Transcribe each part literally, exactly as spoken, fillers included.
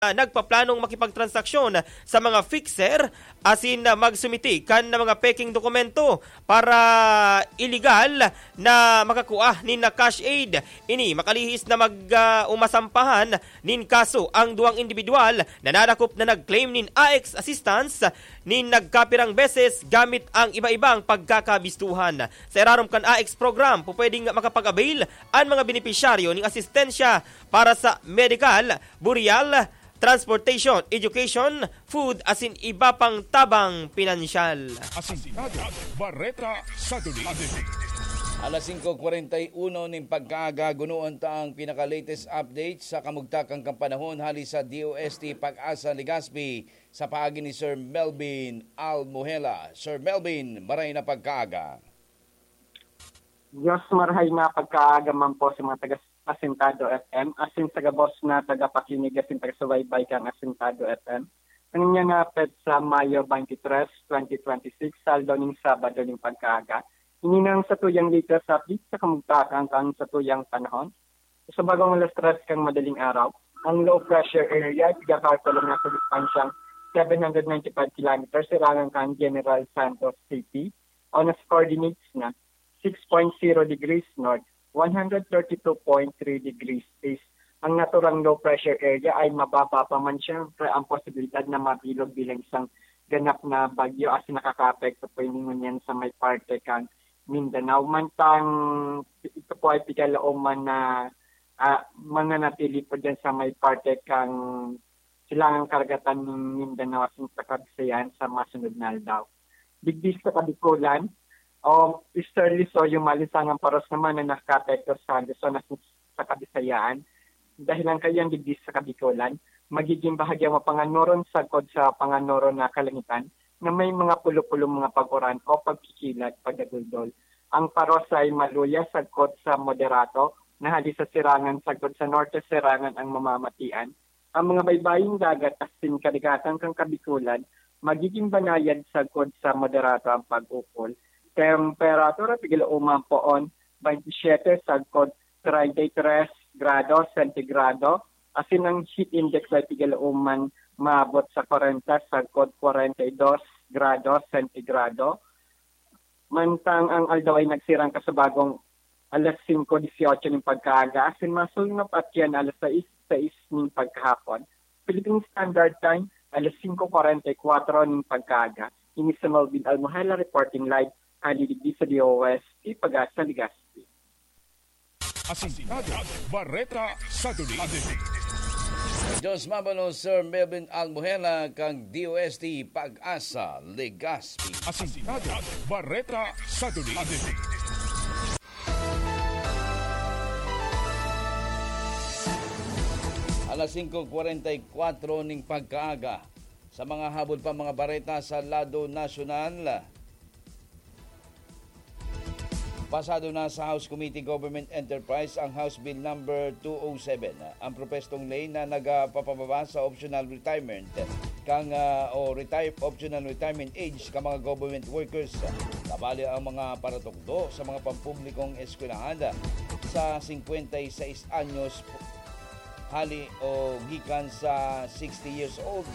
ah, nagpaplanong makipagtransaksyon sa mga fixer asin, ah, magsumiti kan mga peking dokumento para iligal na makakua nin cash aid. Ini makalihis na mag, ah, umasampahan nin kaso ang duwang indibidwal na nadakop na nag-claim nin A X assistance nin nagkapirang beses gamit ang iba-ibang pagkakabistuhan. Sa irarom kan A X program, pupwedeng makapag-avail an mga benepisyaryo ning asistensya para sa medical, burial, transportation, education, food, asin iba pang tabang pinansyal. Asintado, Bareta sa Dulig. Alas singko kwarenta y uno nin pagkaaga, gunoon ta ang pinaka-latest update sa kamugtakan kan panahon hali sa D O S T Pag-asa Legazpi sa paagi ni Sir Melvin Almuhela. Sir Melvin, maray na pagkaaga. Diyos, marahay na pagkaaga man po sa mga taga Asintado F M, asin sa gabos na tagapakinig asin tagasubaybay kan Asintado F M. Ang inyong nga petsa, Mayo twenty-three, twenty twenty-six, saldo ning Sabado ning pagkaaga. Ini na ang satuyang latest update sa kamugtakan kan satuyang panahon. Sa bagong alas tres kan madaling araw, ang low pressure area, tiga Cartolong, nasa distansyang seven hundred ninety-five kilometers, sirangan kan General Santos City, o nas coordinates na six point zero degrees north, one hundred thirty two point three degrees east. Ang naturang low pressure area ay mababa pa man, siyempre, ang posibilidad na mabilog bilang isang ganap na bagyo, asin nakakaapekto po ini ngunyan sa may parte kan Mindanao. Mantang ito po ay pigalaoman na, ah, mananatili po dyan sa may parte kan silangang karagatan nin Mindanao asin sa Kabisayan sa masunod na aldaw. Digdi sa Kabikulan, o easterly, so yung malinsangang paros naman na nakakaapekto sa Luzon asin sa Kabisayan. Dahilan kayan digdi sa Kabikulan, magiging bahagyang mapanganoron sagkod sa panganoron na kalangitan na may mga pulo-pulong mga pag-uran o pagkikilat, pagdaguldol. Ang paros ay maluya sagkod sa moderato, na hali sa sirangan sagkod sa norte sirangan ang mamamatian. Ang mga baybaying dagat asin kadagatan kan Kabikulan magiging banayad sagkod sa moderato ang pag-ukol. Temperatura, pigil-uman poon, twenty-seven sagkod treinta y tres grado sentigrado, asin ang heat index ay pigil-uman maabot sa kwarenta sagkod kwarenta y dos grado sentigrado. Mantang ang aldaw ay nagsirang kasubagong alas singko disyotso nin pagkaaga, asin masulnop at yan alas sais, sais nin pagkahapon. Philippine Standard Time, alas singko kwarenta y kwatro nin pagkaaga. Ini si Melvin Almohela reporting live, hali digdi sa D O S T Pag-asa, Legazpi. Asintado, Bareta sa Dulig. Diyos mabalos, Sir Melvin Almohela, kang D O S T Pag-asa, Legazpi. Asintado, Bareta sa Dulig. Alas singko kwarenta y kwatro ning pagkaaga. Sa mga habol pa mga bareta sa lado nasyonal, pasado na sa House Committee Government Enterprise ang House Bill Number two oh seven, ang propestong ley na nagpapababa sa optional retirement kang, ah, o retire, optional retirement age ka mga government workers, kabali ang mga paratukdo sa mga pampublikong eskwelahan sa singkwenta y seis anyos hali o gikan sa sixty years old.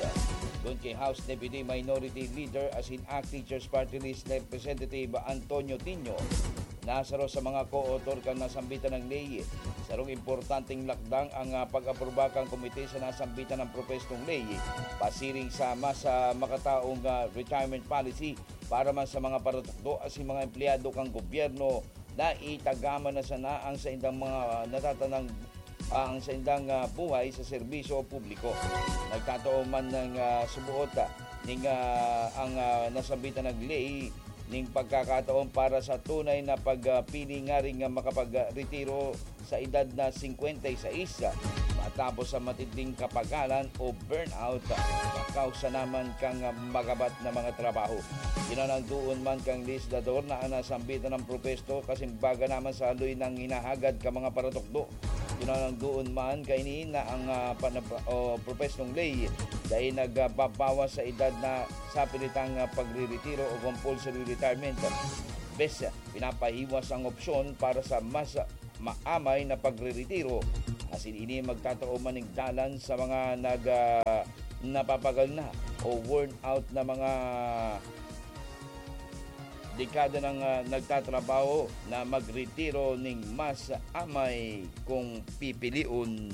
Kun ki House Deputy Minority Leader asin ACT Teachers Party List Representative Antonio Tinio, na saro sa mga co-author kan nasambitan na ley, sarong importanteng lakdang ang, ah, pag-aproba kan komite sa nasambitan na propestong ley pasiring sa mas, ah, makataong, ah, retirement policy para man sa mga paratukdo asin mga empleyado kan gobyerno na itagama na sana ang saindang mga natatanang, ah, ang saindang, ah, buhay sa serbisyo publiko. Nagtatao man ng, ah, subuot, ah, ning, ah, ang, ah, nasambitan na ley ning pagkakataon para sa tunay na pagpili ngaring makapagretiro sa edad na singkwenta y seis, matapos sa matinding kapagalan o burnout, makausa naman kang magabat na mga trabaho. Kinanangdoon man kang legislador na ang nasambitan na propesto kasimbaga naman sa haloy nang hinahagad ka mga paratukdo. Kinanangdoon man kaini na ang, ah, panab-, o propestong ley dai nagbabawas sa edad na sa pilitang, ah, pagreretiro o compulsory retirement. Bes, pinapahiwas ang opsyon para sa mas maamay na pagreretiro, Asin ini magtatao man nin dalan sa mga nag, ah, napapagal na o worn out na mga dekada nang, ah, nagtatrabaho na magretiro ning mas amay kung pipilion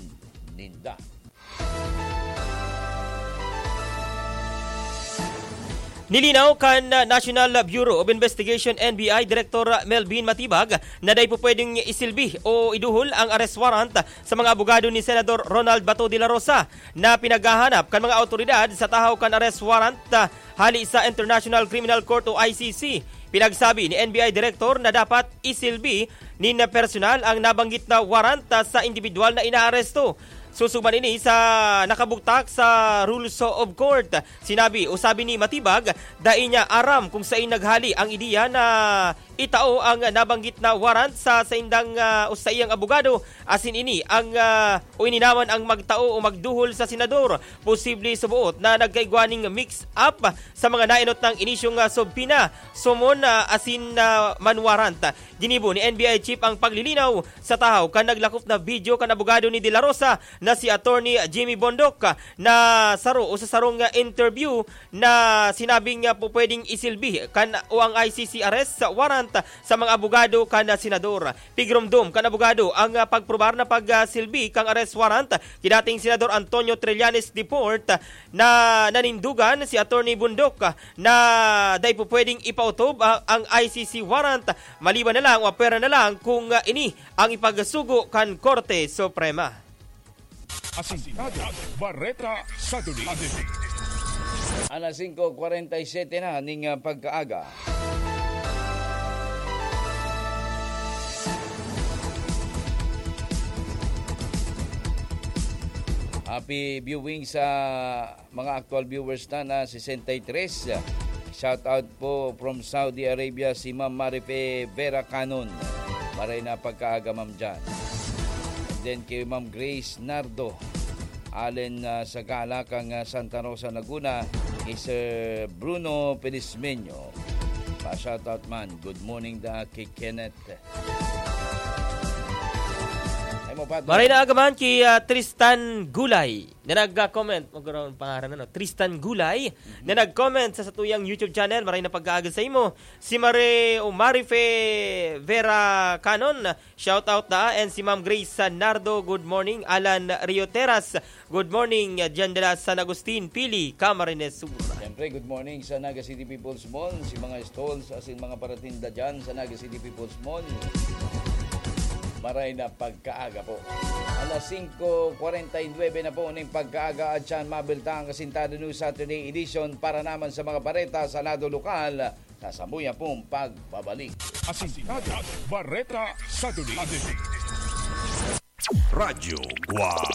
ninda. Nilinaw kan National Bureau of Investigation, N B I, Director Melvin Matibag na dai po pwedeng isilbi o iduhol ang arrest warrant sa mga abogado ni Senador Ronald Bato de la Rosa na pinaghahanap kan mga awtoridad sa tahaw kan arrest warrant, ah, hali sa International Criminal Court o I C C. Pinagsabi ni N B I Director na dapat isilbi nin personal ang nabanggit na warrant, ah, sa indibidwal na inaaresto. Susog man ini sa nakabugtak sa Rules of Court. Sinabi o sabi ni Matibag, dai niya aram kung sain naghali ang ideya na itao ang nabanggit na warrant sa saindang, ah, o saiyang abogado, asin ini ang, ah, o ini naman ang magtao o magduhol sa senador. Posible suboot na nagkaigwa ning mix-up sa mga naenot nang inisyong, ah, subpoena, summon, ah, asin, ah, man warrant. Ginibo ni N B I Chief ang paglilinaw sa tahaw kan naglakop na video kan abogado ni De La Rosa na si Attorney Jimmy Bondoc, ah, na saro o sa sarong, ah, interview na sinabing, ah, pu-, pwedeng isilbi kan o ang I C C arrest warrant sa mga abogado kan, ah, senador. Pigromdom kan abogado ang, ah, pagprobar na pagsilbi kan arrest warrant ki dating Senador Antonio Trillanes Deport, ah, na nanindugan si Attorney Bondoc, ah, na dai po pwedeng ipautob, ah, ang I C C warrant, maliban na lang o pwera na lang kung, ah, ini ang ipagsugo kan Korte Suprema. Asintado, Bareta sa Duli. Alas singko kwarenta y sete na ning, ah, pagkaaga. Happy viewing sa mga actual viewers na na sesenta y tres. Shout out po from Saudi Arabia, si Ma'am Marife Vera Canon. Maray na pagkaaga, ma'am, dyan. And then kay Ma'am Grace Nardo, Allen, ah, Sagala, kang, ah, Santa Rosa, Laguna, kay Sir Bruno Felizmeño. Pa-shoutout man. Good morning da kay Kenneth. Ay mo, partner. Maray na aga man ki, ah, Tristan Gulay na nag-comment. Magkaroon pangaran, ano? Tristan Gulay na nag-comment sa satuyang YouTube channel. Maray na pagkaaga sa imo. Si Mare o Marife Vera Canon, shout out na. And si Ma'am Grace Nardo, good morning. Alan Rio Teras, good morning. Diyan dala San Agustin, Pili, Camarines Sur. Siyempre, good morning sa Naga City People's Mall, si mga stalls, asin mga paratinda dyan sa Naga City People's Mall. Maray na pagkaaga po. Alas singko kwarenta y nuebe na po ning pagkaaga at siyan mabilta ang Asintado News Saturday Edition para naman sa mga bareta sa lado lokal. Sa samuya pong pagbabalik. Asintado, Bareta sa Duli. Radyo Guwang.